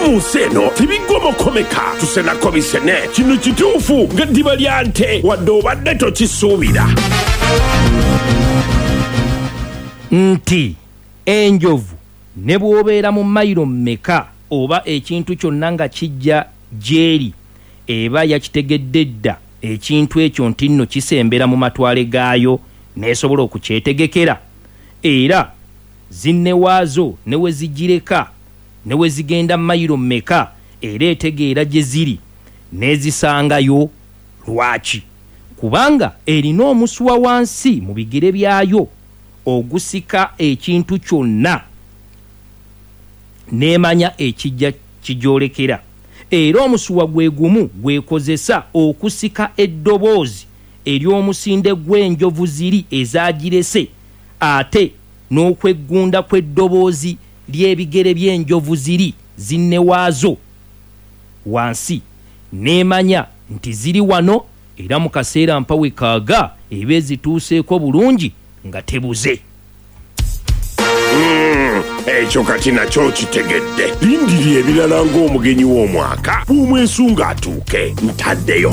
mu nsi eno tebigomokomeka, tusenako bisene. Kino kituufu ng'eddiba lya nte, wadde obadde tokisuubira. Nti enjovu ne bw'obeera mu mayiro mmeka oba ekintu kyonna nga kijja gy'eri, eba yakitegedde dda ekintu ekyo ntinno kisembera mu matwale gaayo n'esobola okukyetegekera. Era zinne waazo ne we zigireka ne we zigenda mayiro mmeka era etegeera gye ziri n'ezisangayo. Lwaki? Kubanga erina omusuwa wansi mu bigere byayo ogusika ekintu kyonna n'emanya ekijja kigyolekera. Era omusuwa gwe gumu gw'ekozesa okusika eddoboozi ery'omusinde gw'enjovu ziri ezaagirese ate n'okweggunda kw'eddoboozi ly'ebigere by'enjovu ziri zinne waazo wansi, n'emanya nti ziri wano, era mu kaseera mpa we kaaga eba ezituuseeko bulungi nga tebuze. Umm, ekyo kati nakyo okitegedde. Lindirira ebirala ng'omugenyi w'omwaka bw'omwesunga atuuke. Ntaddeyo.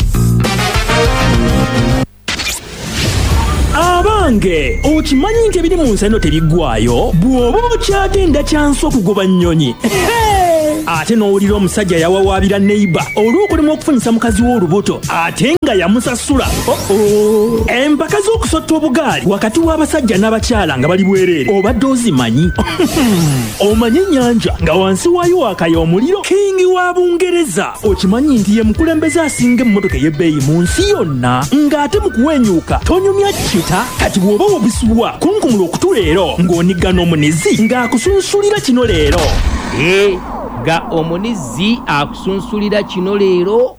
Abange, okimanyi nti ebiri mu nsi eno tebiggwaayo? Bw'oba okyagenda kyansi okugoba nnyonyi. Ate n'owulira omusajja yawawaabira neiba olw'okulemwa okufunyisa mukazi we olubuto ate nga yamusasula. Oh-oh. Empaka z'okusotta obugaali wakati w'abasajja n'abakyala nga bali bwereere obadde ozimanyi? Omanyi ennyanja nga wansi waayo waakaya omuliro? King wa Bungereza okimanyi nti ye mukulembeze asinga emmotoka ey'ebbeeyi mu nsi yonna ng'ate mu kuwenyuuka tonyumya kita? Kati bw'oba wabisubwa kunkumula okutu leero ng'onigga n'omunizi ng'akusunsulira kino leero. Eeh nga omunizzi akusunsulira kino leero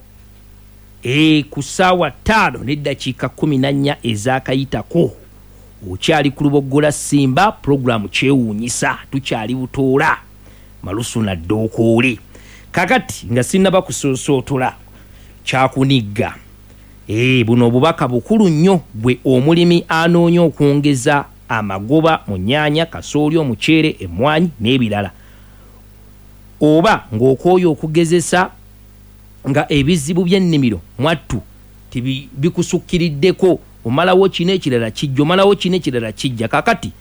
eeh ku ssaawa ttaano n'eddakiika kkumi na nnya ezaakayitako okyali ku Luboggola Simba pulogulaamu Kyewuunyisa tukyali Butoola Malusu na Ddookoole. Kakati nga sinnaba kusoosootola kyakunigga eeh buno obubaka bukulu nnyo ggwe omulimi anoonya okwongeza amagoba mu nnyaanya, kasooli, omuceere, emmwaanyi n'ebirala oba ng'okooye okugezesa nga ebizibu by'ennimiro mwattu bikusukkiriddeko, omalawo kino ekirala kijja, omalawo kino ekirala kijja. Kaakati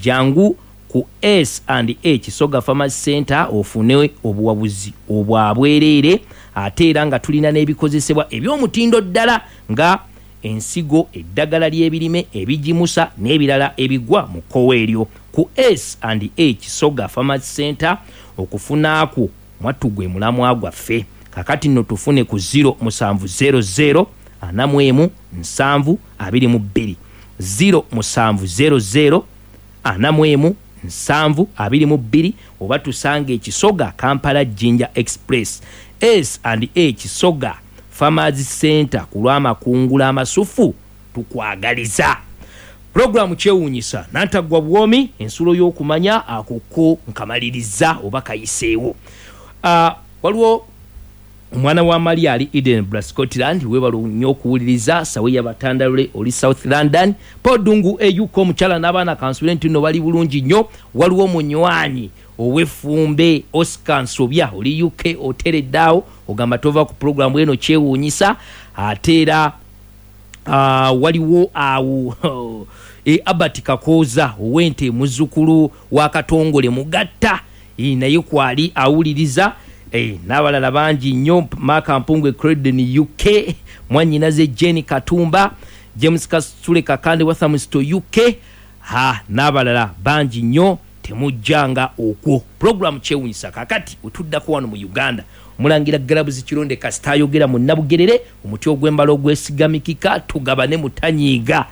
jangu ku S and A Kisoga Farmers Centre ofune obuwabuzi obwa bwereere ate era nga tulina n'ebikozesebwa eby'omutindo ddala nga ensigo, eddagala ly'ebirime, ebigimusa n'ebirala ebigwa mu kkowe eryo. Ku S and A Kisoga Farmers Centre okufuna kwo mwattu gwe mulamwa gwaffe. Kakati nno tufune ku ziro musanvu zero zero ana mu emu nsanvu abiri mu bbiri, ziro musanvu zero zero ana mu emu nsanvu abiri mu bbiri oba tusange e Kisoga, Kampala Jinja Express. S and A Kisoga Farmers Centre ku lw'amakungula amasufu tukwagaliza. Pulogulaamu Kyewuunyisa Nantaggwa Buwoomi, ensulo y'okumanya, ako ko nkamalirizza oba kayiseewo. Waliwo omwana wa Maria ali Edinburgh, Scotland, weebale nnyo okuwuliriza. Saweya Batandalule oli South London. Paul Ddungu e UK, omukyala n'abaana kansuubire nti nno bali bulungi nnyo. Waliwo omunywanyi ow'effumbe Oscar Nsobya oli UK oteredde awo ogamba tova ku pulogulaamu eno kyewuunyisa. Ate era waliwo awo e Albert Kakooza ow'ente muzzukulu wa Katongole Mugatta naye kwali awuliriza n'abalala bangi nnyo Mark Mpungu e Croydon UK, mwannyinaze Jane Katumba, James Kasule Kakande Walthamstow UK ha n'abalala bangi nnyo. Temujjanga okwo. Pulogulaamu Kyewunyisa kaakati wetuddako wano mu Uganda. Omulangira Galabuzi Kironde kasita ayogera mu Nabugerere, omuti ogw'embala ogwesigamikika, tugabane mutanyiiga.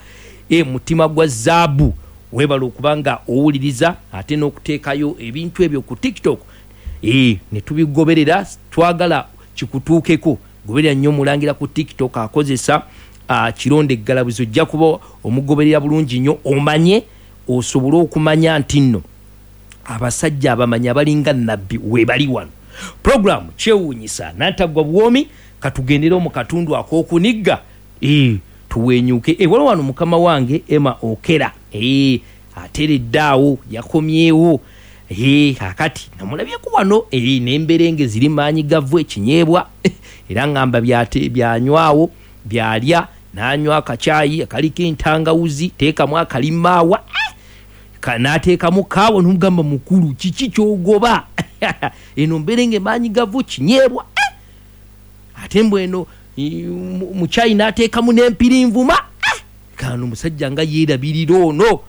E mutima gwa zaabu. Webale okuba nga owuliriza ate n'okuteekayo ebintu ebyo ku TikTok e netubigoberera. Twagala kikutuukeko. Goberera nnyo Omulangira ku TikTok akozesa Kironde Galabuzi ojja kuba omugoberera bulungi nnyo omanye osobole okumanya nti nno abasajja abamanyi abalinga Nabbi webali wano. Program Kyewuunyisa Nantaggwa Buwoomi, katugendere mu katundu ak'okunigga eeh tuwenyuuke. Eeh waliwo wano mukama wange Emma Okera eeh ateredde awo yakomyewo. Kakati namulabyeko wano n'emberenge ziri maanyi gavu ekinyeebwa, era ngamba byanywawo byalya, n'anywa akacaayi akaliko entangawuzi, teekamu akalimaawa, n'ateekamu kaawa, n'omugamba mukulu kiki ky'ogoba? Eno mberenge maanyi gavu kinyeebwa, ate mbw eno mu caayi n'ateekamu n'empirinvuma. Kano omusajja nga yeerabirira ono.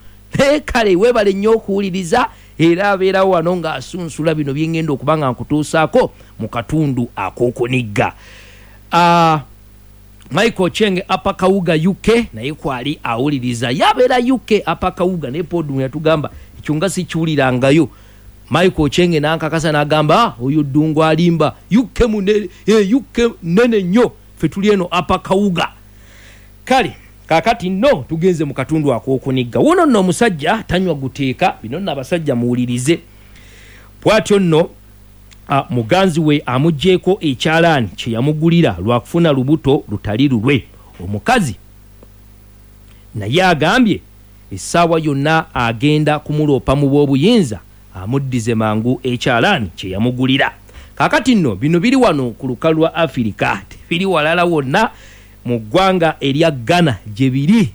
Kale weebale nnyo okuwuliriza, era abeerawo wano ng'asunsula bino bye ngenda okuba nga nkutuusaako mu katundu ak'okunigga. Michael Chenge Upper Kawuga UK naye kwali awuliriza, yabeera UK Upper Kawuga, naye Podumu yatugamba ekyo nga sikiwulirangayo. Michael Chenge n'ankakasa n'agamba oyo Ddungu alimba, UK UK nene nnyo, ffe tuli eno Upper Kawuga. Kale kakati nno tugenze mu katundu ak'okunigga. Wuno nno omusajja tanywa guteeka, bino nno abasajja muwulirize. Bw'atyo nno muganzi we amuggyeko ekyalaani kye yamugulira lwa kufuna lubuto lutali lulwe. Omukazi naye agambye essaawa yonna agenda kumuloopa mu b'obuyinza amuddize mangu ekyalaani kye yamugulira. Kaakati nno bino biri wano ku lukalu lwa Afirika, tebiri walala wonna mu ggwanga erya Ghana gye biri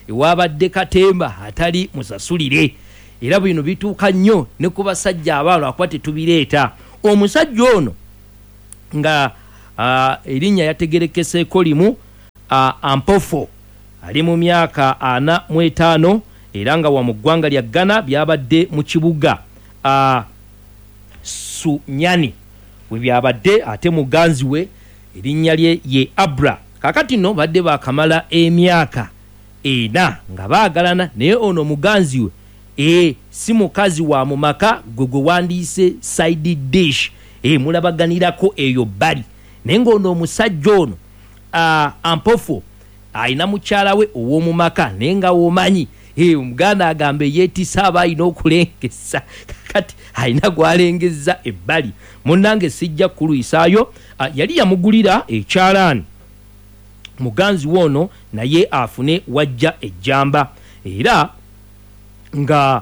ewabadde katemba atali musasulire. Era bino bituuka nnyo ne ku basajja abaalo akuba tetubireeta. Omusajja ono nga erinnya yategerekeseeko limu Ampofo, ali mu myaka 45 era nga wa mu ggwanga lya Ghana, byabadde mu kibuga Sunyani we byabadde, ate muganzi we erinnya lye ye Abra. Kaakati nno badde baakamala emyaka 4 nga baagalana, naye ono muganzi we si mukazi wa mu maka gwe gwe wandiise side dish, mulabaganirako eyo bbali. Naye ng'ono omusajja ono Ampofo alina mukyala we ow'omu maka, naye nga womanyi omuganda agamba eyeetisa aba alina okulengeza, kakati alina gw'alengeza ebbali. Munnange sijja kulwisaayo, yali yamugulira ekyalaani muganzi we ono naye afune wajja ejjamba, era nga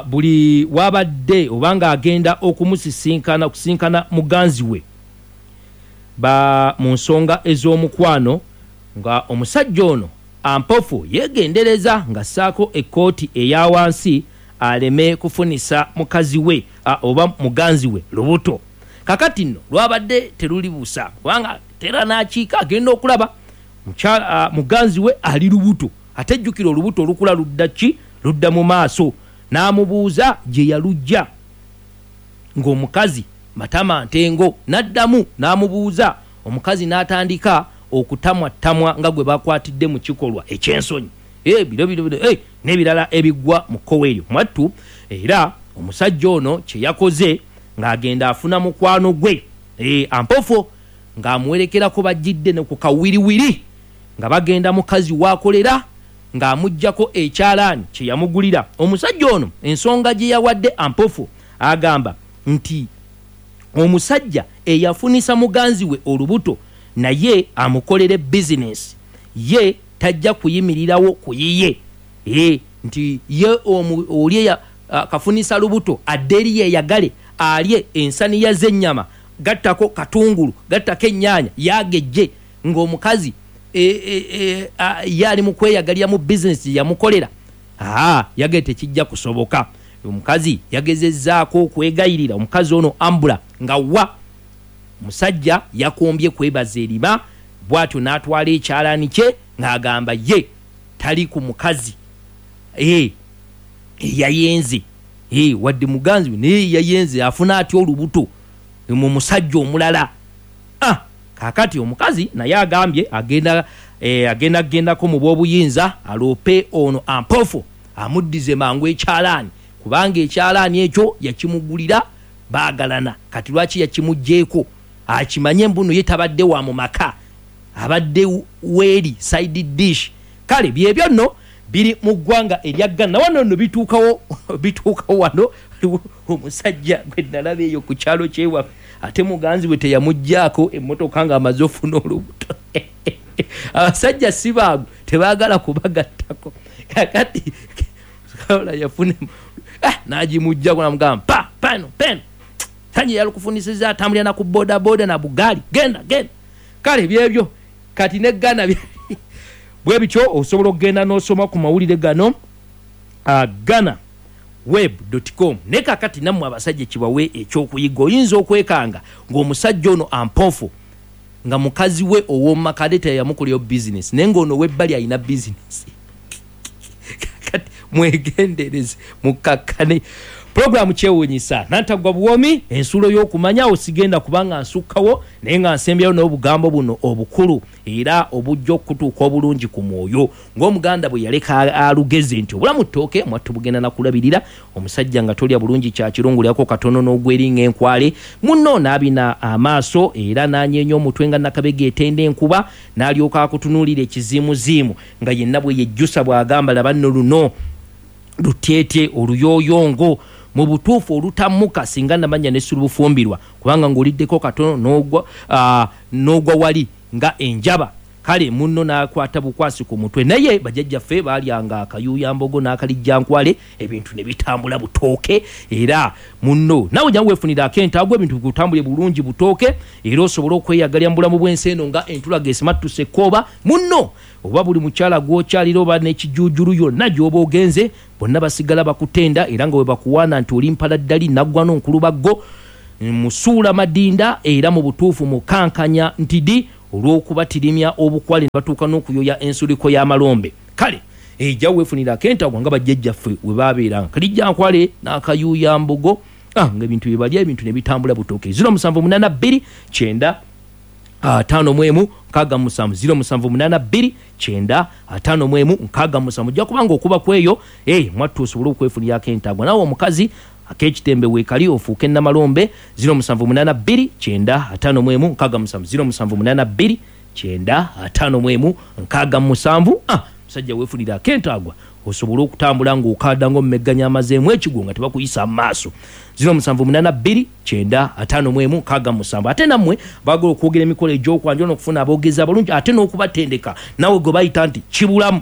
buli wabadde oba ng'agenda okumusisinkana okusinkana muganzi we mu nsonga ez'omukwano, nga omusajja ono Ampofo yeegendereza ng'assaako ekkooti eya wansi aleme kufunisa mukazi we oba muganzi we lubuto. Kakati nno lwabadde teruli busa, kubanga tera n'akiika agenda okulaba muganzi we ali lubuto, ate jjukira olubuto olukula ludda ki? Ludda mu maaso. N'amubuuza gye yalujja, ng'omukazi matama ntengo, n'addamu n'amubuuza, omukazi n'atandika okutamwattamwa nga gwe bakwatidde mu kikolwa eky'ensonyi, biro biro biro n'ebirala ebiggwa mu kkowe eryo mwattu. Era omusajja ono kye yakoze ng'agenda afuna mukwano gwe Ampofo ng'amuwerekerako, bajjidde ne ku kawiriwiri nga bagenda mukazi w'akolera ng'amuggyako ekyalaani kye yamugulira. Omusajja ono ensonga gye yawadde Ampofo agamba nti omusajja eyafunisa muganzi we olubuto naye amukolere bizinensi, ye tajja kuyimirirawo ku yiye, nti ye oli kafunisa lubuto adde eri yeeyagale alye ensaniya z'ennyama, gattako katungulu, gattako ennyaanya, yaagejje, ng'omukazi ye ali mu kweyagalira mu bizinensi gye yamukolera. Yagee tekijja kusoboka. Omukazi yagezezzaako okwegayirira omukazi ono Ambula nga wa omusajja yakombye kwebaza erima, bw'atyo n'atwala ekyalaani kye ng'agamba ye tali ku mukazi eyayenze, wadde muganzi we naye yayenze, afuna atya olubuto mu musajja omulala? Kaakati omukazi naye agambye agenda agendako mu b'obuyinza aloope ono Ampofo amuddize mangu ekyalaani, kubanga ekyalaani ekyo yakimugulira baagalana, kati lwaki yakimuggyeeko? Akimanye mbuno ye tabadde wa mu maka, abadde weeri side dish. Kale byebyo nno biri mu ggwanga erya Ghana. Wano nno bituukawo bituukawo wano. Waliwo omusajja gwe nalaba eyo ku kyalo kyewaffe, ate muganzi we teyamuggyaako emmotoka ng'amaze ofuna olubuto. Abasajja si baagu, tebaagala kubagattako. Kakati yafuna N'agimuggyako namugamba pa pano peno tanye yalukufunisiza atambulira na ku bodaboda na bugaali, genda genda. Kale byebyo kati ne Ghana bwe bityo. Osobola okugenda n'osoma ku mawulire gano Ghana web.com. Naye kakati nammwe abasajja kibawe ekyokuyiga, oyinza okwekanga ng'omusajja ono ampofu nga mukazi we ow'omumaka teyamukolerayo bizinesi, naye ng'ono webbali alina bizinesi. Kakati mwegendereze, mukakkane. Pulogulaamu kyewuunyisa Nantaggwa Buwoomi, ensulo y'okumanya. Osigenda kubanga nsukkawo, naye nga nsembyayo n'obugambo buno obukulu era obujja okutuuka obulungi ku mwoyo, ng'Omuganda bwe yaleka alugeze nti obulamu ttooke, mwattu bugenda nakulabirira. Omusajja nga tolya bulungi kyakirungulyako katono n'ogweringa enkwale, munno n'abina amaaso era n'anyeenya omutwe nga nakabega etenda enkuba, n'alyoka akutunuulira ekiziimuziimu nga yenna bwe yejjusa bw'agamba, laba nno luno lutyetye oluyooyongo mu butuufu olutamuka, singa namanya ne sulubufumbirwa, kubanga ng'oliddeko katono n'ogwa wali nga enjaba. Kale munno n'akwata bukwasi ku mutwe. Naye bajjajjaffe baalyanga akayuuyambogo n'akalijjankwale, ebintu ne bitambula butooke. Era munno naawe jangu weefunire ak'entaago, ebintu bikutambule bulungi butooke, era osobole okweyagalira mu bulamu bw'ensi eno nga entulaga esimattuse ekkooba. Munno oba buli mukyala gw'okyalira oba n'ekijuujulu yonna gy'oba ogenze, bonna basigala bakutenda, era nga bwe bakuwaana nti oli mpaladdali naggwa n'onkulubaggo musuula madinda, era mu butuufu mukankanya ntidi olw'okubatirimya obukwale ne batuuka n'okuyoya ensuliko y'amalombe. Kale ejja weefunira ak'entagwa nga bajjajjaffe we baabeeranga kalijjankwale n'akayuuyambogo, nga ebintu bye balya, ebintu ne bitambula butooke. 0782 90 51 67, 0782 90 51 67. Ojja kubanga okuba kweyo mwattu osobole okwefunira ak'entagwa. Naawe omukazi ak'ekitembe weekali ofuuke namalombe. 0782 90 51 67, 0782 90 51 67. Musajja weefunira ak'entagwa osobole okutambula ng'okaada ng'omumegganya amazeemu ekigwo nga tebakuyisa mu maaso. 0782 90 51 67. Ate nammwe baagala okwogera emikolo egy'okwanjula n'okufuna aboogezi abalungi ate n'okubatendeka, naawe gwe bayita nti kibulamu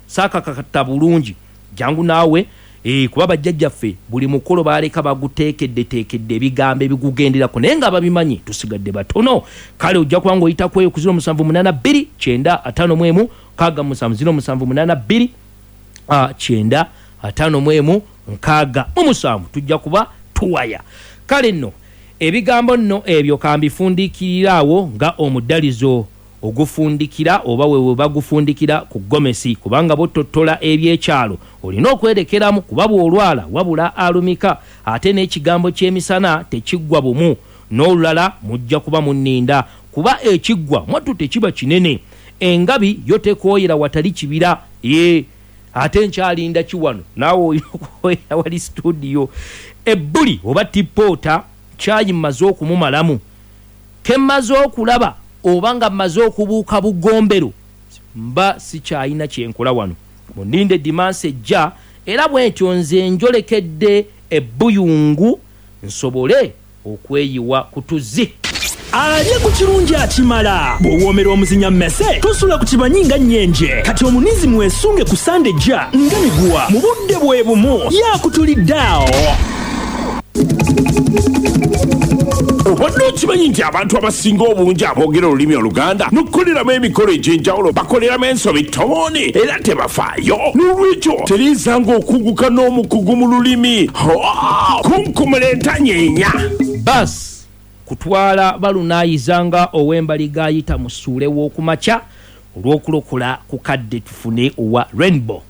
saakakakata bulungi, jangu naawe. Kuba bajjajjaffe buli mukolo baaleka baguteekeddeteekedde ebigambo ebigugenderako, naye nga babimanyi tusigadde batono. Kale ojja kuba ng'oyita kweyo ku 0782 90 51 67, 0782 90 51 67, tujja kuba tuwaya. Kale nno ebigambo nno ebyo kambifundikirira awo nga omuddalizo ogufundikira oba we bagufundikira ku gomesi, kubanga bw'ottottola ebyekyalo olina okwerekeramu, kuba bw'olwala wabula alumika, ate n'ekigambo ky'emisana tekiggwa bumu n'olulala mujja kuba munninda, kuba ekiggwa mwattu tekiba kinene. Engabi yo tekooyera watali kibira. Ate nkyalinda ki wano, naawe olina okwoyera wali studio. Ebbuli oba tippoota kyayi mmaze okumumalamu, ke mmaze okulaba oba nga mmaze okubuuka bugombero, mba sikyalina kyenkola wano. Muninde dimansi ejja, era bwentyo nze njolekedde ebbuyungu nsobole okweyiwa ku tuzzi. Alye ku kirungi akimala. Bw'owoomera omuzinya mmese tosula ku kibanyi nga nnyenje. Kati omunizi mwesunge ku Sande ejja nga miguwa mu budde bwe bumu yakutulidde awo. Obadde okimanyi nti abantu abasinga obungi aboogera olulimi Oluganda n'okukoleramu emikolo egy'enjawulo bakoleramu ensobi ttomooni era tebafaayo? N'olwekyo tereezanga okuguka n'omukugu mu lulimi. Kunkumula entanyeenya. Bus kutwala balunaayiza nga ow'embaliga ayita mu ssuule w'okumakya olw'okulokola ku kadde tufune owa Rainbow.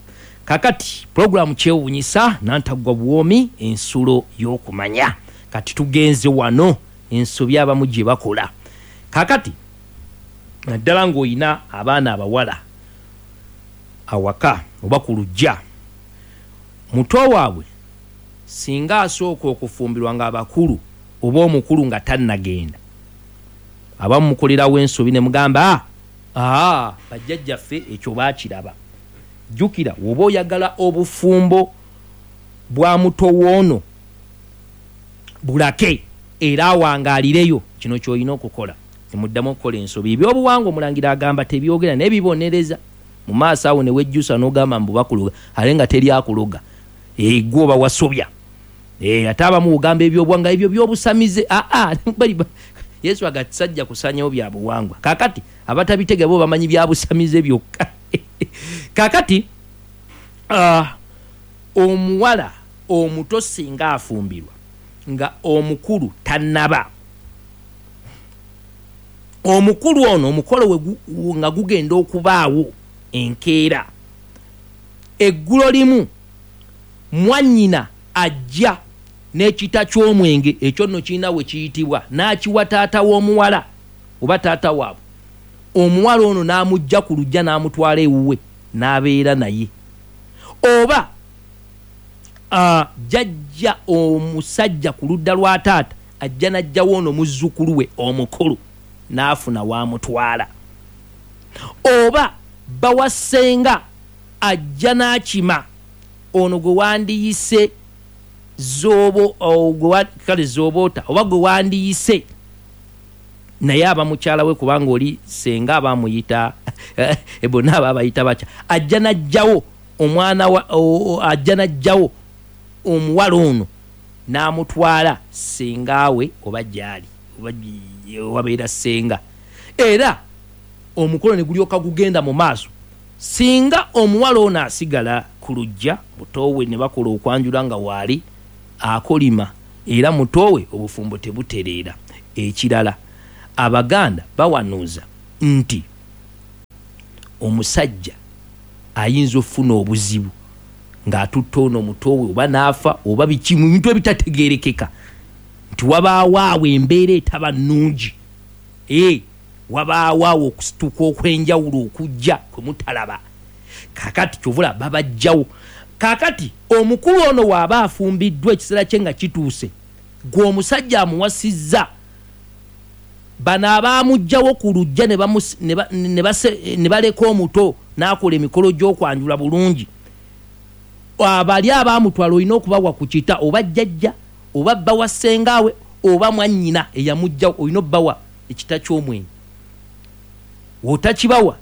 Kakati pulogulaamu kyewuunyisa Nantaggwa Buwoomi, ensulo y'okumanya. Kati tugenze wano ensobi abamu gye bakola kakati, naddala ng'olina abaana abawala awaka oba ku luggya, muto waabwe singa asooka okufumbirwa ng'abakulu oba omukulu nga tannagenda, abamu mukolerawo ensobi ne mugamba bajjajjaffe ekyo baakiraba. Jjukira woba oyagala obufumbo bwa muto woono bulake era awangaalireyo, kino ky'olina okukola. Temuddamu okukola ensobi. Ebyobuwangwa omulangira agamba tebyogera naye bibonereza. Mu maaso awo ne wejjusa n'ogamba mbu bakuloga, ate nga teri akuloga. Gwe oba wasobya. Ate abamu ogamba ebyobuwangwa ebyo byobusamize. Aa, Yesu agatisajja kusanyawo bya buwangwa. Kakati abatabitega bo bamanyi bya busamize byokka. Kakati omuwala omuto singa afumbirwa nga omukulu tannaba, omukulu ono omukolo we nga gugenda okubaawo enkeera, eggulo limu mwannyina ajja n'ekita ky'omwenge, ekyo nno kirina we kiyitibwa, n'akiwa taata w'omuwala oba taata waabwe. Omuwala ono n'amujja ku luggya n'amutwala ewuwe n'abeera naye. Oba jjajja omusajja ku ludda lwa taata ajja n'aggyawo ono muzzukulu we omukulu n'afuna w'amutwala. Oba bba wa ssenga ajja n'akima ono gwe wandiyise zoobo, kale zooboota oba gwe wandiyise naye aba mukyala we, kubanga oli ssenga aba amuyita bonna aba abayita batya, ajja n'aggyawo omwana wa, ajja n'aggyawo omuwala ono n'amutwala ssenga we oba gy'ali oba wabeera ssenga, era omukolo ne gulyoka gugenda mu maaso. Singa omuwala ono asigala ku luggya, mutoowe ne bakola okwanjula nga waali akolima, era mutoowe obufumbo tebutereera. Ekirala, Abaganda bawanuuza nti omusajja ayinza okufuna obuzibu ng'atutte ono mutoowe oba n'afa oba biki mu bintu ebitategeerekeka, nti wabaawo awo embeera etaba nnungi, wabaawo awo okusituka okw'enjawulo okujja kwe mutalaba. Kaakati kyovula babajjawo. Kaakati omukulu ono waaba afumbiddwa ekiseera kye nga kituuse, gwe omusajja amuwasizza, bano abaamuggyawo ku luggya ne baleka omuto n'akola emikolo gy'okwanjula bulungi, abali abaamutwala olina okubawa ku kita, oba jjajja oba bba wa ssengaawe oba mwannyina eyamuggyawo, olina obbawa ekita ky'omwenge. Otakibawa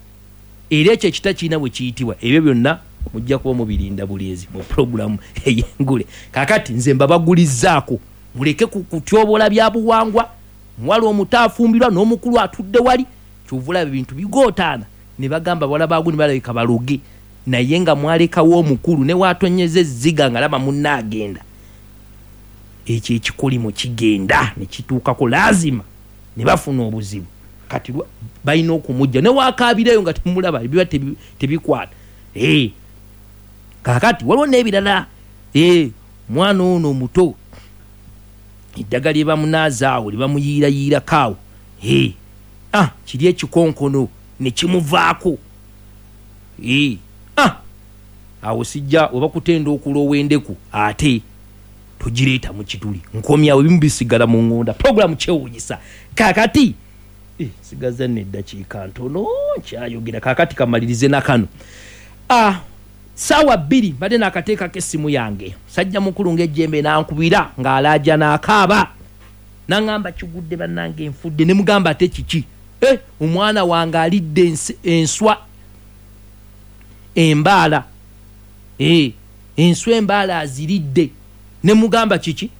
era ekyo ekita kirina bwe kiyitibwa. Ebyo byonna mujja kuba mubirinda bulinzi mu pulogulaamu ey'engule. Kaakati nze mbabagulizzaako muleke kutyobola bya buwangwa. Muwala omuto afumbirwa n'omukulu atudde wali, kyova olaba ebintu bigootaana ne bagamba bawala baago ne balabika baloge, naye nga mwalekawo omukulu ne waatonyeza ezziga nga laba munne agenda, ekyo ekikolimo kigenda ne kituukako laazima ne bafuna obuzibu. Kati balina okumujja ne waakaabirayo nga temulaba, biba tebikwata. Kaakati waliwo n'ebirala. Omwana ono omuto eddagala lye bamunaaza awo lye bamuyiirayiirako awo, kiri ekikonkono ne kimuvaako. Awo sijja oba kutenda okulowa endeku ate togireeta mu kituli. Nkomyawo ebimu bisigala mu ŋŋonda. Pulogulaamu kyewuunyisa. Kaakati sigaza nno eddakiika ntono nkyayogera. Kaakati kamalirize na kano. Ssaawa 2 mbadde naakateekako essimu yange, musajja mukulu ng'ejjembe n'ankubira ng'alaaja n'akaaba, n'aŋŋamba kigudde bannange nfudde. Ne mugamba ate kiki? Omwana wange alidde enswa embaala. Enswa embaala aziridde. Ne mugamba kiki?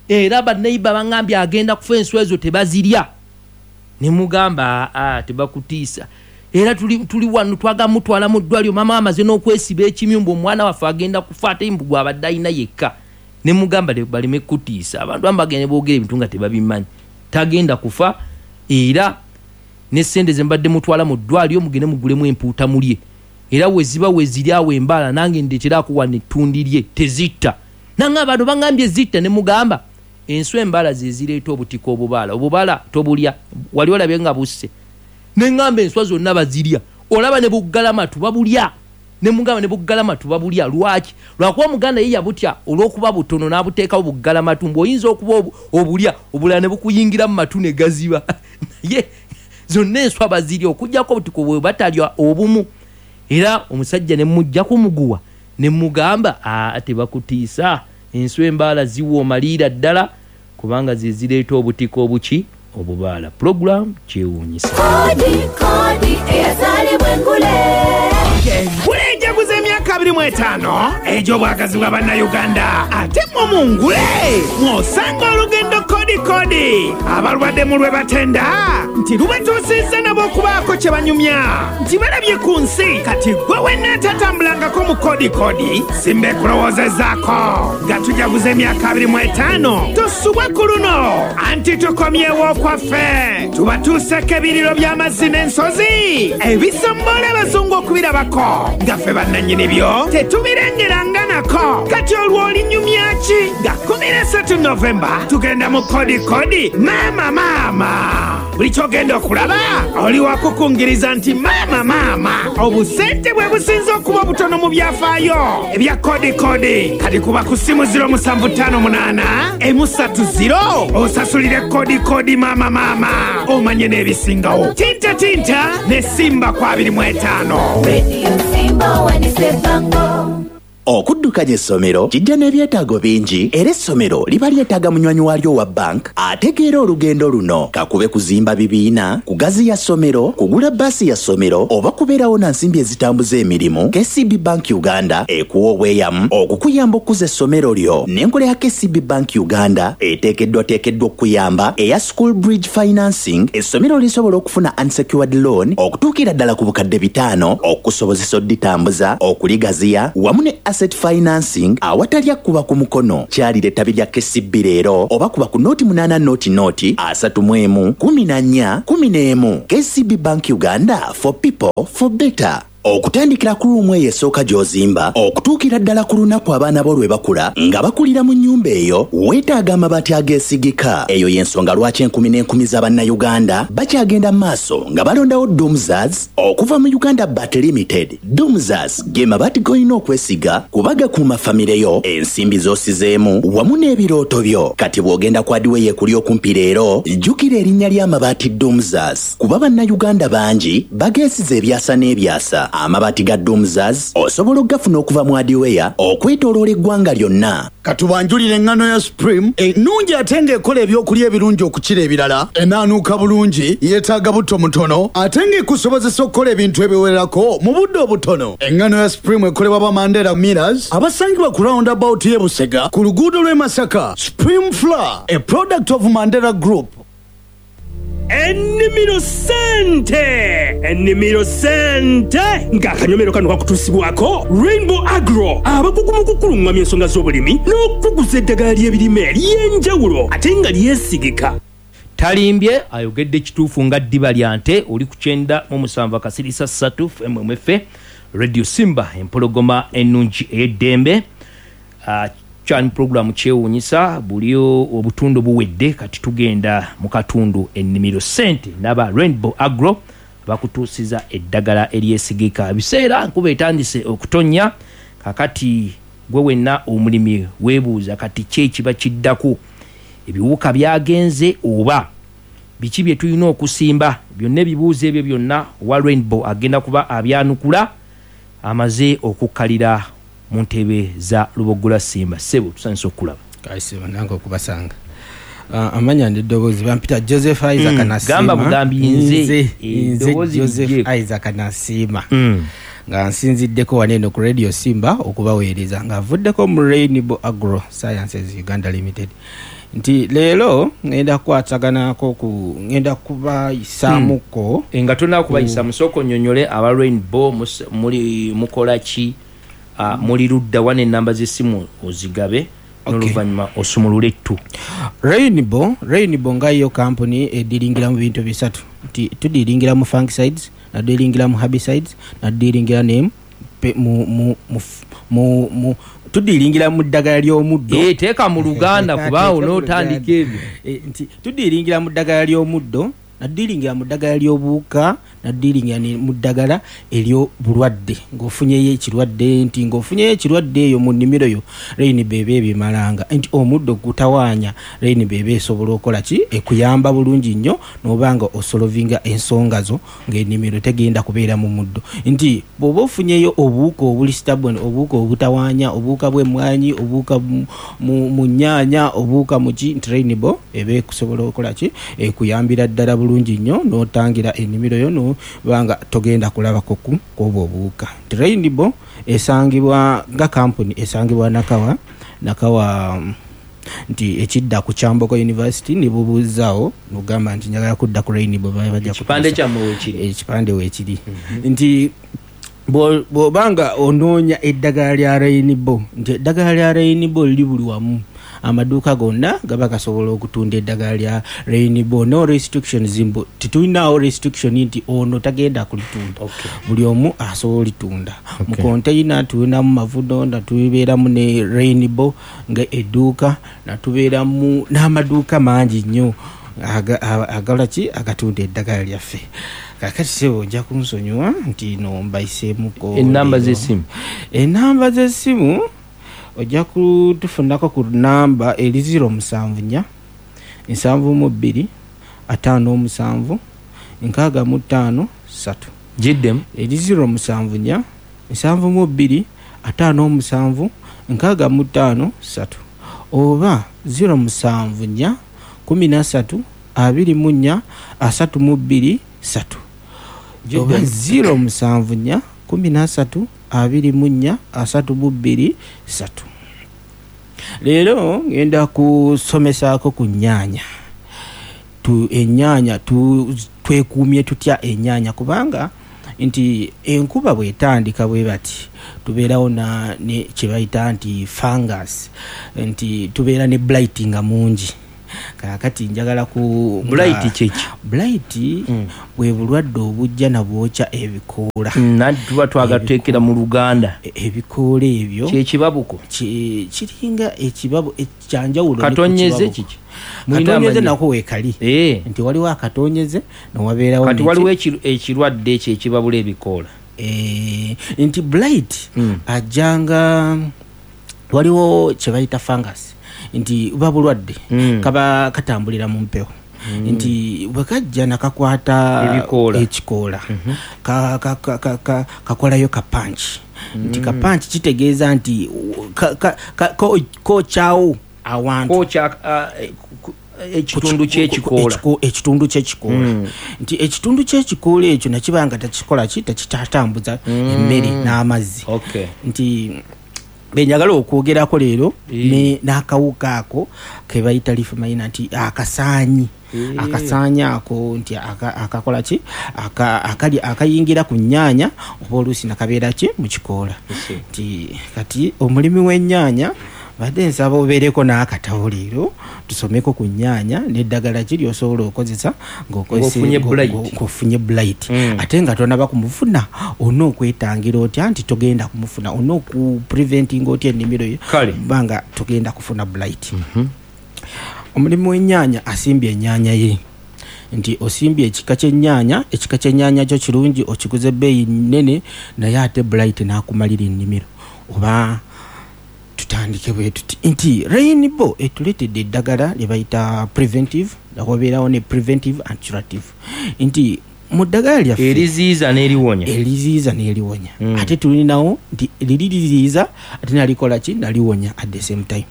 Era banneyiba baŋŋambye agenda kufa enswa ezo tebazirya. Ne mugamba tebakutiisa. Era tuli wano twagala mutwala mu ddwaliro, maama amaze n'okwesiba ekimyu mbu omwana waffe agenda kufa ate mbu gw'abadde alina yekka. Ne mugamba baleme kutiisa. Abantu abamu bagenda ne boogera ebintu nga tebabimanyi. Tagenda kufa, era ne ssente ze mbadde mutwala mu ddwaliro mugende mugulemu empuuta mulye. Era we ziba we ziri awo embaala nange ndeeteraako wano ettundi lye, tezitta. Nange abantu baŋŋambye zitta, ne mugamba enswa embaala ze zireeta obutiko obubaala. Obubaala tobulya, wali olabye nga busse. Ne ŋŋamba enswa zonna bazirya, olaba ne buggalamatu babulya. Ne mugamba ne buggalamatu babulya. Lwaki? Lwakuba Omuganda ye yabutya olw'okuba butono n'abuteekawo buggalamatu, mbu oyinza okuba obulya obulala ne bukuyingira mu matu ne gaziba. Naye zonna enswa bazirya okuggyako obutiko bwe batalya obumu. Era omusajja ne mmuggyako muguwa ne mugamba tebakutiisa, enswa embaala ziwooma liira ddala kubanga ze zireeta obutiko obuki obubaala. Pulogulaamu kyewuunyisa. Kodi, kodi, eyazaalibwa engule. Engule ejaguza emyaka 20. 25 egy'obwagazi bwa Bannayuganda, ate mmwe mungule mw'osanga olugendo kodi kodi abalwadde mu lwe batenda nti lubatuusizza nabo okubaako kye banyumya nti balabye ku nsi. Kati gwe wenna atatambulangako mu kodi kodi, simba ekulowoozezaako nga tujaguza emyaka 25. Tosubwa ku luno anti tukomyewo okwaffe, tubatuuseko ebiriro by'amazzi n'ensozi ebisombola abazungu okubirabako nga ffe bannannyini byo tetubirengeranga nako. Kati olwo olinyumya ki nga 13 Novemba tugenda mu kodi kodi maama maama? Buli kyogenda okulaba oli wakukungiriza nti maama maama. Obusente bwe businze okuba obutono mu byafaayo ebya kodi kodi. Kati kuba ku ssimu 0758 130 osasulire kodi kodi maama maama, omanye n'ebisingawo. Tinta tinta ne Simba ku 25. Radio Simba wanisebango. Okuddukanya essomero kijja n'ebyetaago bingi, era essomero liba lyetaaga munywanyi waalyo owa bank ategeera olugendo luno. Kakube kuzimba bibiina, kugaziya ssomero, kugula bbaasi ya ssomero oba kubeerawo na nsimbi ezitambuza emirimu, KCB Bank Uganda ekuwa obweyamu okukuyamba okukuza essomero lyo. N'enkola ya KCB Bank Uganda eteekeddwateekeddwa okukuyamba eya School Bridge Financing, essomero lisobola okufuna unsecured loan okutuukira ddala ku bukadde 500 okukusobozesa odditambuza, okuligaziya wamu ne asset financing awatali akkuba ku mukono. Kyalira ettabi lya KCB leero oba kuba ku 08 00 31 14 11. KCB Bank Uganda, for people for better. Okutandikira ku ruumu eyo esooka gy'ozimba okutuukira ddala ku lunaku abaana bo lwe bakula nga bakulira mu nnyumba eyo, weetaaga amabaati ageesigika. Eyo y'ensonga lwaki enkumi n'enkumi za Bannayuganda bakyagenda mu maaso nga balondawo Doomzas okuva mu Uganda Bat Limited. Doomzas ge mabaati g'olina okwesiga kuba gakuuma famire yo, ensimbi z'osizeemu wamu n'ebirooto byo. Kati bw'ogenda ku adiweya ekuli okumpi leero, jjukira erinnya ly'amabaati Doomzas kuba Bannayuganda bangi bageesize ebyasa n'ebyasa. Amabaati ga Doomzas osobola okugafuna okuva mu adiweya okwetooloola eggwanga lyonna. Katubanjulire eŋŋano ya Supreme ennungi ate ng'ekola ebyokulya ebirungi okukira ebirala, enaanuuka bulungi, yeetaaga butto mutono ate ng'ekusobozesa okukola ebintu ebiwerako mu budde obutono. Eŋŋano ya Supreme ekolebwa ba Mandela Millers abasangibwa ku roundabout y'e Busega ku luguudo lw'e Masaka. Supreme Flour, a product of Mandela Group. Ennimiro Ssente! Ennimiro Ssente! Ng'akanyomero kano kakutuusibwako Rainbow Agro, abakugu mu kukulungamya ensonga z'obulimi n'okukuguza eddagala ly'ebirime ery'enjawulo ate nga lyesigika. Talimbye, ayogedde kituufu nga ddiba lya nte. Oli ku 97.3 FMMFA, Radio Simba, empologoma ennungi ey'eddembe. Chan program kyewuunyisa, buli obutundu buwedde, kati tugenda mu katundu ennimiro ssente n'aba Rainbow Agro bakutuusiza eddagala eryesigika. Ebiseera nkuba etandise okutonnya, kakati gwe wenna omulimi weebuuza kati ki ekiba kiddako, ebiwuka byagenze oba biki bye tulina okusimba? Byonna ebibuuzo ebyo byonna owa Rainbow agenda kuba abyanukula amaze okukkalira mu ntebe za Luboggola Simba. Ssebo tusanyuse okukulaba. Kale ssebo nange okubasanga. Amanya n'eddoboozi bampita Joseph Isaac Nasiima. Gamba bugambi nze. Nze, nze Eddoboozi Joseph lijje. Isaac Nasiima. Nga nsinziddeko wano eno ku Radio Simba okubaweereza nga nvuddeko mu Rainbow Agro Sciences Uganda Limited. Nti leero ngenda kukwataganako ku ngenda kubayisaamuko. Nga tonnaba kubayisa, musooke onnyonnyole aba Rainbow muli mukola ki? Muli ludda wa n'ennamba z'essimu ozigabe n'oluvannyuma osumulule ettu. Rainbow nga yo kampuni ediringira mu bintu bisatu. Nti tudiringira mu fungicides, natudiringira mu herbicides, natudiringira ne pe, mu, mu, mu, mu, mu, tudiringira mu ddagala ly'omuddo. Teeka mu Luganda kubaawo Teeka mu n'otandika Luganda. ebyo. Nti tudiringira mu ddagala ly'omuddo, natudiringira mu ddagala ly'obuwuka, natudiringira ne mu ddagala ery'obulwadde. Ng'ofunyeyo ekirwadde, nti ng'ofunyeyo ekirwadde eyo mu nnimiro yo, Rainbow eba ebimalanga. Nti omuddo gutawaanya, Rainbow eba esobola okukola ki? Ekuyamba bulungi nnyo n'oba nga osolovinga ensonga zo ng'ennimiro tegenda kubeera mu muddo. Nti bw'oba ofunyeyo obuwuka obuli stubborn, obuwuka obutawaanya, obuwuka bw'emmwanyi, obuwuka mu nnyaanya, obuwuka mu ki, nti Rainbow eba ekusobola okukola ki? Ekuyambira ddala bulungi. bulungi nnyo n'otangira ennimiro yo nobanga togenda kulabako kwobwo obuwuka. Nti Rainbow esangibwa nga kampuni esangibwa Nakawa nti ekidda ku Kyambogo University, ne bubuuzaawo nogamba nti njagala kudda ku Rainbow, bajja Ekipande kyammwe weekiri? Ekipande weekiri. Nti bw'obanga onoonya eddagala lya Rainbow, nti eddagala lya Rainbow liri buli wamu, amaduuka gonna gaba gasobola okutunda eddagala lya Rainbow, no restrictions, mbu tetulinawo restriction nti ono tagenda kulitunda. Buli omu asobola olitunda. Mu container tulinamu Mavuno, natubeeramu ne Rainbow nga edduuka, natubeeramu n'amaduuka mangi nnyo agalaki agatunda eddagala lyaffe. Kakati sebo nja kunsonyiwa nti no mbayiseemuko. Enamba z'essimu? Enamba z'essimu ojja kutufunako ku namba eri 074 72 57 65 3. Giddemu. Eri 074 72 57 65 3 oba 074 13 24 32 3 oba 074 13 24 32 3. Leero ngenda kusomesaako ku nnyaanya. Ennyaanya twekuumye tutya ennyaanya, kubanga nti enkuba bwetandika bwe bati tubeerawo ne kye bayita nti fungus, nti tubeera ne blight nga mungi. Kaakati njagala ku Blight kyeki? Blight bwe bulwadde obujja nabwokya ebikoola. Nanti tuba twagateekera mu Luganda. Ebikoola ebyo kyekibabuko kiringa ekibabu ekyanjawulo. Katonyeze kiki? Katonyeze nako weekali. Nti waliwo akatonyeze newabeerawo. Kati waliwo ekirwadde ekyo ekibabula ebikoola. Nti blight ajjanga waliwo kye bayita fungus, nti buba bulwadde kaba katambulira mu mpewo. Nti bwe kajja nakakwata ekikoola kakolayo kapanki. Nti kapanki kitegeeza nti kokyawo awantu, ekitundu ky'ekikoola. Ekitundu ky'ekikoola. Nti ekitundu ky'ekikoola ekyo nakibanga tekikola ki, tekitatambuza emmere n'amazzi. Nti benjagala okwogerako leero n'akawuka ako ke bayita leaf miner, nti akasaanyi. Akasaanyi ako nti akakola ki, akayingira ku nnyaanya oba oluusi nakabeera ki mu kikoola. Nti kati omulimi w'ennyaanya badde nsaba obeereko n'akatabo leero tusomeko ku nnyaanya n'eddagala ki ly'osobola okozesa ng'ofunye blight. Ate nga tonaba kumufuna olina okwetangira otya nti togenda kumufuna, olina okupreventinga otya ennimiro yo kubanga togenda kufuna blight. Omulimu w'ennyaanya asimbye ennyaanya ye, nti osimbye ekika ky'ennyaanya, ekika ky'ennyaanya kyo kirungi okiguze ebbeeyi nnene, naye ate blight n'akumalira ennimiro. Oba tutandike bwe tuti nti Rainbow etuleetedde eddagala lye bayita preventive, wabeerawo ne preventive and curative. Nti mu ddagala lyaffe eriziyiza n'eriwonya, eriziyiza n'eriwonya. Ate tulinawo nti liri liziyiza ate nalikola ki, naliwonya at the same time.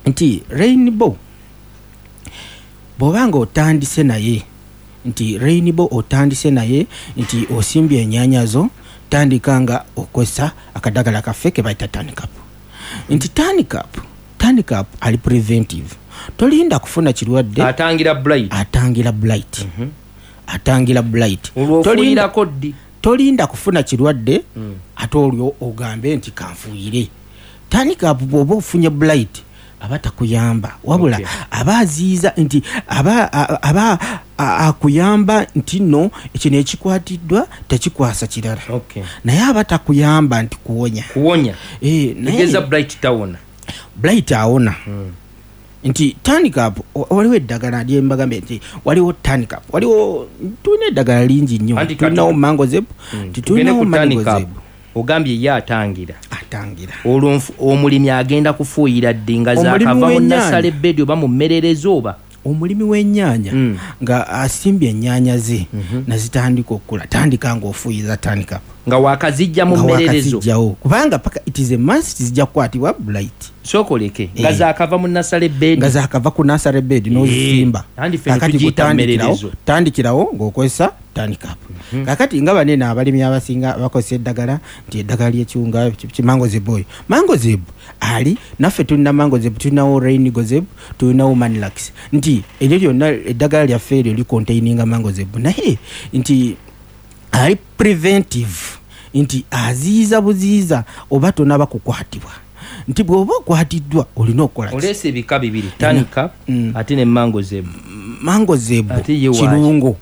Nti Rainbow bw'obanga otandise naye, nti Rainbow otandise naye nti osimbye ennyaanya zo, tandika nga okozesa akadagala kaffe ke bayita Tanikup. Nti Tanikup ali preventive, tolinda kufuna kirwadde, atangira blight, atangira blight. Atangira blight. Olwofuuyirako ddi? Tolinda kufuna kirwadde ate olwo ogambe nti kanfuuyire. Tanikup bw'oba ofunye blight aba takuyamba, wabula aba aziyiza, nti aba akuyamba nti no kino ekikwatiddwa tekikwasa kirala. Naye aba takuyamba nti kuwonya. Kuwonya. Tegeza blight tawona. Blight awona. Nti Tanikup waliwo eddagala lye mbagambye nti waliwo Tanikup, waliwo tulina eddagala lingi nnyo, tulinawo Mangozeb, tulinawo Mangozeb. Ogambye ye atangira. Atangira. Olwo omulimi agenda kufuuyira ddi nga zaakava mu nasale bedi oba mu mmererezo oba? Omulimi w'ennyaanya nga asimbye ennyaanya ze nazitandika okukula, tandika ng'ofuuyiza Tanikup. Nga wakazijja mu Nga mmererezo. wakazijjawo, kubanga paka it is a must zijja kukwatibwa blight. Sookoleke nga zakava mu nursery bed. Nga zakava ku nursery bed n'ozisimba. Andi ffe ne Kakati tugiyita gutandikirawo, mmererezo. tandikirawo ng'okozesa tanikap. Kakati nga banene abalimi abasinga bakozesa eddagala nti eddagala lyekiwunga mancozeb oyo, mancozeb ali naffe tulina mancozeb, tulinawo raingozeb, tulinawo manlax, nti eryo lyonna eddagala lyaffe eryo likontaininga mancozeb, naye nti ali preventive, nti aziyiza buziyiza oba tonaba kukwatibwa, nti bw'oba okwatiddwa olina okukola ki? Oleese ebika bibiri, tanika ate ne mancozeb. Mancozeb Ate ye waaki? kirungo.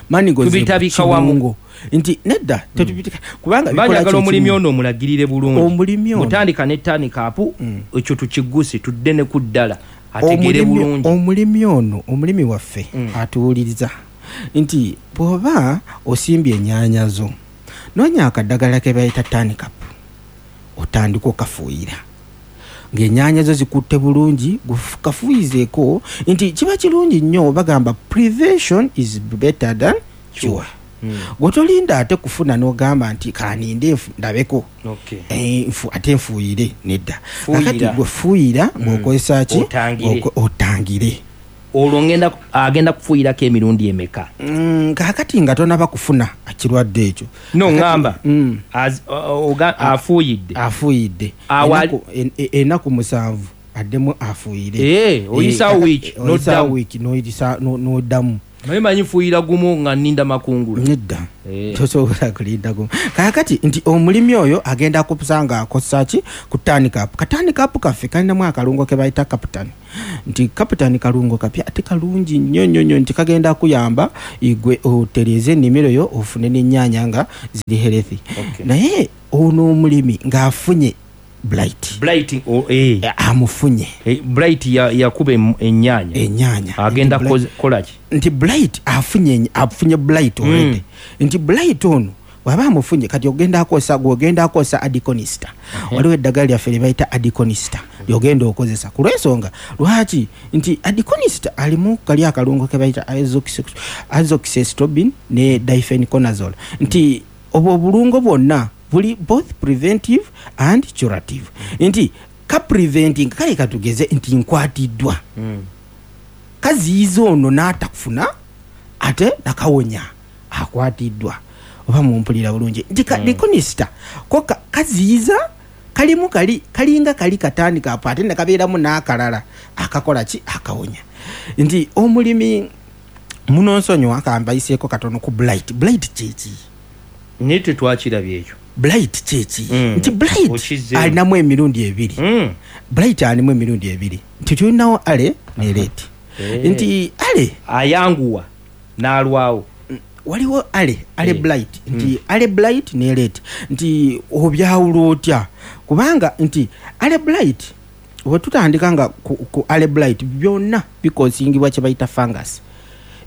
Mancozeb Tubitabika wamu. kirungo. Nti nedda, tetubiteka kubanga Mba bikola njagala kye omulimi kimu. ono omulagirire bulungi. Omulimi ono. Mutandika ne tanikapu, ekyo tukiguse tudde ne ku ddala ategeere bulungi. Omulimi ono, omulimi waffe atuwuliriza nti bw'oba osimbye ennyaanya zo, noonya akaddagala ke bayita tanikap, otandika okafuuyira ng'ennyaanya zo zikutte bulungi, kafuuyizeeko, nti kiba kirungi nnyo. Bagamba prevention is better than cure. Gwe tolinda ate kufuna n'ogamba nti kaninde ndabeko. Ate nfuuyire, nedda. Fuuyira. Kakati gwe fuuyira ng'okozesa ki? Otangire. Otangire. Olwo agenda kufuuyirako emirundi emeka? Kakati nga tonaba kufuna kirwadde ekyo. No, ŋŋamba, afuuyidde. Afuuyidde. Ennaku 7 addemu afuuyire. Oyisaawo wiiki, Oyisaawo n'oddamu. wiiki, n'oddamu. Naye manyi nfuuyira gumu nga nninda makungula. Nedda. Tosobola kulinda gumu. Kaakati nti omulimi oyo agenda kusanga akozesa ki ku tanikap. Katanikap kaffe kalinamu akalungo ke bayita captan, nti captan kalungo kapya ate kalungi nnyo nnyo nnyo, nti kagenda kuyamba igwe otereeze ennimiro yo ofune n'ennyaanya nga ziri healthy. Naye ono omulimi ng'afunye blight. Blight, oh, Amufunye. Blight yakuba ennyaanya. Ennyaanya. Agenda Nti kola ki? Nti blight afunye blight already. Nti blight ono bw'aba amufunye, kati ogenda akozesa, gw'ogenda akozesa adiconista. Waliwo eddagala lyaffe lye bayita adiconista ly'ogenda okozesa ku lw'ensonga lwaki nti adiconista alimu kali akalungo ke bayita azoxystrobin ne difenoconazole, nti obwo obulungo bwonna buli both preventive and curative, nti ka preventing kale katugeze nti nkwatiddwa, kaziyiza ono n'atakufuna ate nakawonya akwatiddwa. Oba mumpulira bulungi nti adiconista ko kaziyiza kalimu kali kalinga kali katandika apo ate nakabeeramu n'akalala akakola ki akawonya. Nti omulimi munonsonyiwa kambayiseeko katono ku blight. Blight kyeki? Naye tetwakirabye ekyo. Blight kyeki? Nti blight Okizzeemu. alinamu emirundi ebiri. Blight alimu emirundi ebiri, nti tulinawo early ne late. Nti early ayanguwa n'alwawo. Waliwo early blight, nti early blight ne late, nti obyawula otya? Kubanga nti early blight bwe tutandika nga ku early blight byonna bikosingibwa kye bayita fungus,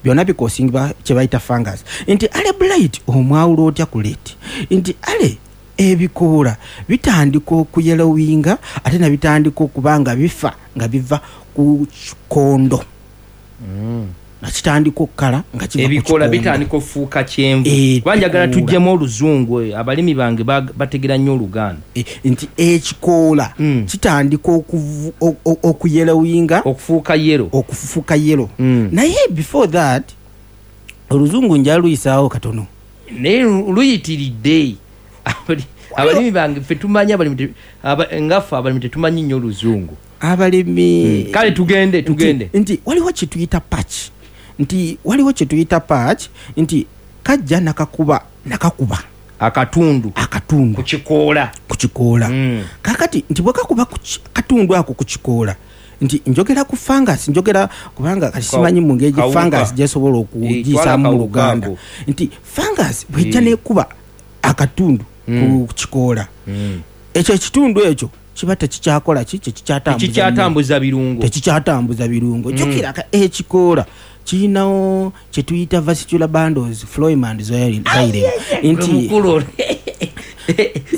byonna bikosingibwa kye bayita fungus. Nti early blight omwawula otya ku late? Nti early ebikoola bitandika okuyelowinga ate ne bitandika okuba nga bifa nga biva ku kikondo. Nakitandika okukala nga kiva ku Ebikoola kikondo. bitandika okufuuka kyenvu. Kuba njagala Ebikoola. tuggyemu oluzungu, abalimi bange bategera nnyo Oluganda. Nti ekikoola kitandika okuyelowinga, okufuuka yellow. Okufuuka yellow. Naye before that oluzungu nja luyisaawo katono. Naye luyitiridde. Abalimi bange ffe tumanyi abalimi nga ffe abalimi tetumanyi nnyo oluzungu. Abalimi Kale tugende. Nti waliwo kye tuyita patch. Nti waliwo kye tuyita patch, nti kajja nakakuba akatundu akatundu ku kikoola. Ku kikoola. Kakati nti bwe kakuba ku katundu ako ku kikoola, nti njogera ku fungus, njogera kubanga kati simanyi mu ngeri Kawuka. fungus gyesobola okugiisaamu Twala mu kawuka Luganda. ako. Nti fungus bw'ejja n'ekuba akatundu ku kikoola, ekyo ekitundu ekyo kiba tekikyakola ki? Tekikyatambuza Tekikyatambuza birungo. Tekikyatambuza birungo. Jjukira ekikoola kirinawo kye tuyita vascular bundles, phloem and xylem. Nti Mukulu.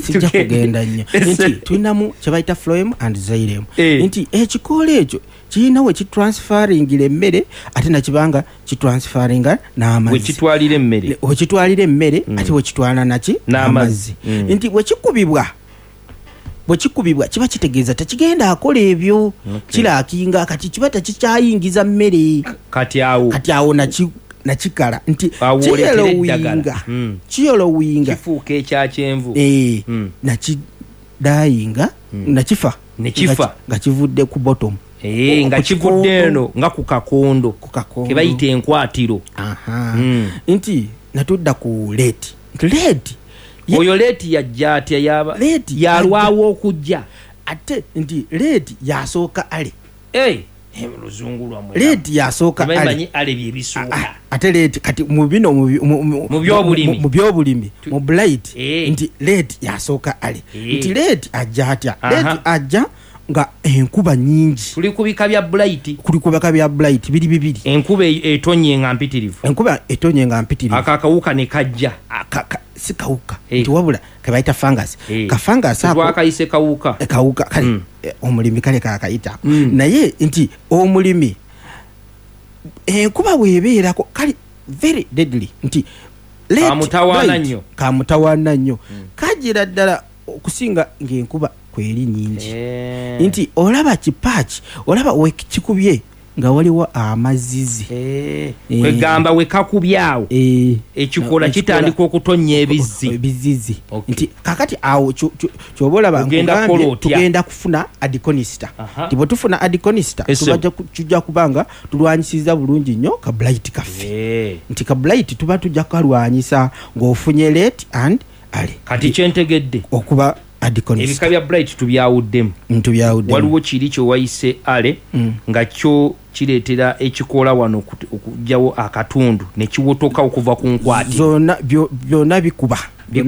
Sijja kugenda nnyo nti tulinamu kyebayita phloem and xylem, nti ekikoola ekyo kirina we kitransfaringira emmere, ate nakibanga kitransfaringa n'amazzi. Wekitwalira emmere. Wekitwalira emmere, ate wekitwala naki? N'amazzi. Nti bwekikubibwa kiba kitegeeza tekigenda akola ebyo, kirakinga kati kiba tekikyayingiza mmere. Kati awo, kati awo nakikala nti Awo oleetera kiyelowinga. eddagala. Kiyelowinga, kifuuka ekyakyenvu. Nakidayinga, nakifa. Nekifa. Nga kivudde ku bottom. Nga Ku kivudde kikondo. eno nga ku kakondo. Ku kakondo. Kebayita enkwatiro. Nti natudda ku late, nti late Oyo late yajja atya? Yaba Late yalwawo okujja. Ate nti late yasooka early. Luzungu lwammwe. Late yasooka early. Tebamanyi early byebisooka. Ate late kati mu bino Mu byobulimi. mu byobulimi, mu blight, nti late yasooka early. Nti late ajja atya? Late ajja nga enkuba nyingi. Tuli ku bika bya blight. Kuli ku bika bya blight biri bibiri. Enkuba etonye nga mpitirivu. Enkuba etonye nga mpitirivu. Aka akawuka ne kajja. Si kawuka, nti wabula kebayita fungus. Ka fungus ako Twakayise kawuka. Kawuka kale, omulimi kale kakayita. Naye nti omulimi enkuba bw'ebeerako kale very deadly, nti late Kamutawaana blight, nnyo. Kamutawaana nnyo. Kajira ddala okusinga ng'enkuba kweri nyingi. Nti olaba kipaaki, olaba wekikubye nga waliwo amazizi. Kwegamba wekakubyawo ekikola kitandika okutonnya ebizzi. Ebizizi. Nti kakati awo kyoba olaba Ogenda nkugambye kukola otya? tugenda kufuna adikonista. Nti bwe tufuna adikonista, tujja kubanga tulwanyisiza bulungi nnyo ka blight kaffe. Nti ka blight tuba tujja kukalwanyisa ng'ofunye late and early. Kati kyentegedde okuba adikonista. Ebika bya blight tubyawuddemu. Tubyawuddemu. Waliwo kiri kyewayise early, nga kyo kireetera ekikoola wano okuggyawo akatundu ne kiwotoka okuva ku nkwati. Zonna byonna bikuba. Byonna.